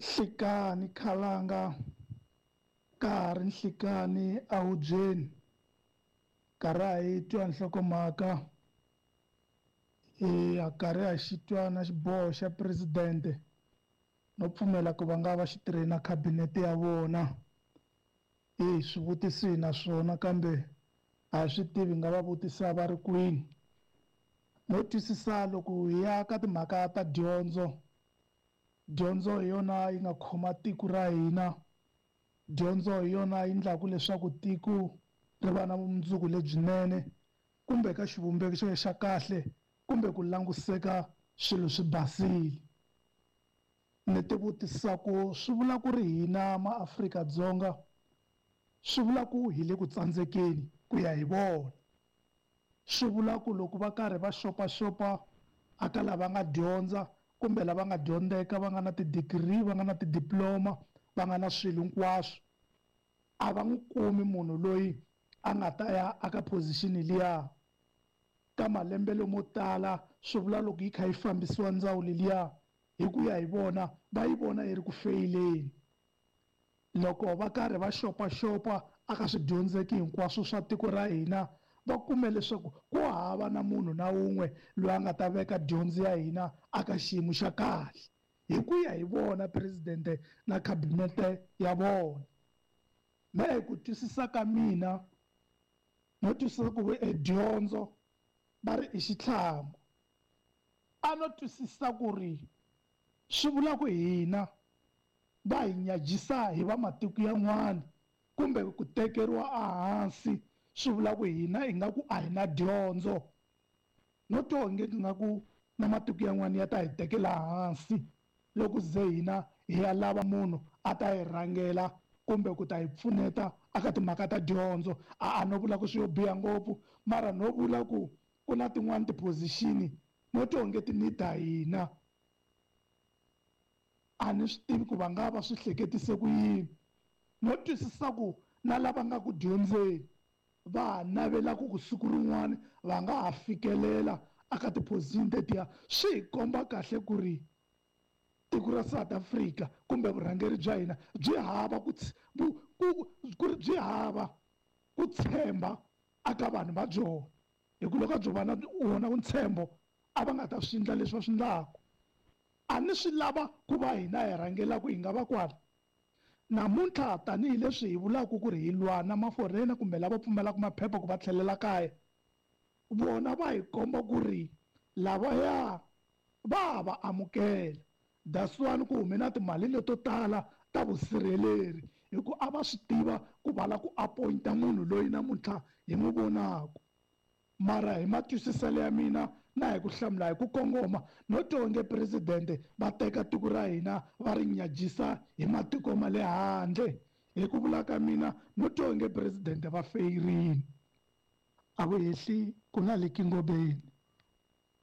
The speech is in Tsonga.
Nhlikani khalanga ka ha ri nhlikani ehubyeni karhi a hi twa nhlokomhaka hi ya karhi a xi twa na xiboho xa presidente no pfumela ku va nga va xi tirhe na khabinete ya vona hi swivutiso hi na swona kambe a hi swi tivi nga va vutisa va ri kwini no twisisa loko hi ya ka timhaka ta dyondzo dyondzo hi yona yi nga khoma tiko ra hina dyondzo hi yona yi endlaku leswaku tiko ri va na vumundzuku lebyinene kumbe ka xivumbeko xo xa kahle kumbe ku languseka swilo swi basile ni ti vutisa ku swi vula ku ri hina maAfrika-Dzonga swi vula ku hi le ku tsandzekeni ku ya hi vona swi vula ku loko va karhi va xopaxopa aka lava nga dyondza kumbe lava nga dyondzeka va nga na ti-degree va nga na ti-diploma va nga na swilo hinkwaswo a va n'wi kumi munhu loyi a nga ta ya aka position liya ka malembe lomo tala swi vula loko yi kha yi fambisiwa ndzawulo liya hi ku ya hi vona va yi vona yi ri ku feyileni loko va karhi va xopaxopa aka swidyondzeki hinkwaswo swa tiko ra hina va kume leswaku ku hava na munhu na wun'we loyi a nga ta veka dyondzo ya hina aka xiyimo xa kahle hi ku ya hi vona presidente na khabinete ya vona mehe ku twisisa ka mina no twisisa ku e dyondzo va ri i xitlhangu a no twisisa ku ri swi vula ku hina va hi nyajisa hi va matiko yan'wana kumbe ku tekeriwa ehansi swi vula ku hina ingaku a hi na dyondzo no twa onge ingaku na matiko yan'wana ya ta hi tekela hansi loko ze hina hi ya lava munhu a ta hi rhangela kumbe ku ta hi pfuneta aka timhaka ta dyondzo a a no vula ku swi yo biha ngopfu mara no vula ku ku na tin'wani ti-position no twa onge ti need-a hina a ni swi tivi ku va nga va swi hleketise ku yini no twisisa ku na lava nga ku dyondzeni va ha navelaka ku siku rin'wana va nga ha fikelela aka ti-position tetiya swi hi komba kahle ku ri tiko ra South Africa kumbe vurhangeri bya hina byi hava ku ku ri byi hava ku tshemba aka vanhu va byona hi ku loko a byo va na wona ntshembo a va nga ta swi endla leswi va swi endlaku a ni swi lava ku va hina hi rhangelaka hi nga va kwala namuntlha tanihileswi hi vulaka ku ri hi lwa na maforena kumbe lava pfumelaka maphepha ku va tlhelela kaya vona va hi komba ku ri lavaya va va amukela that's why ku hume na timali leto tala ta vusirheleri hi ku a va swi tiva ku va la ku appointa munhu loyi namuntlha hi n'wi vonaka mara hi matwisiselo ya mina na hi ku hlamula hi ku kongoma no twa onge presidente va teka tiko ra hina va ri nyajisa hi matiko ma le handle hi ku vula ka mina no twa onge presidente va feyirini a vu hehli ku na le kingobeni.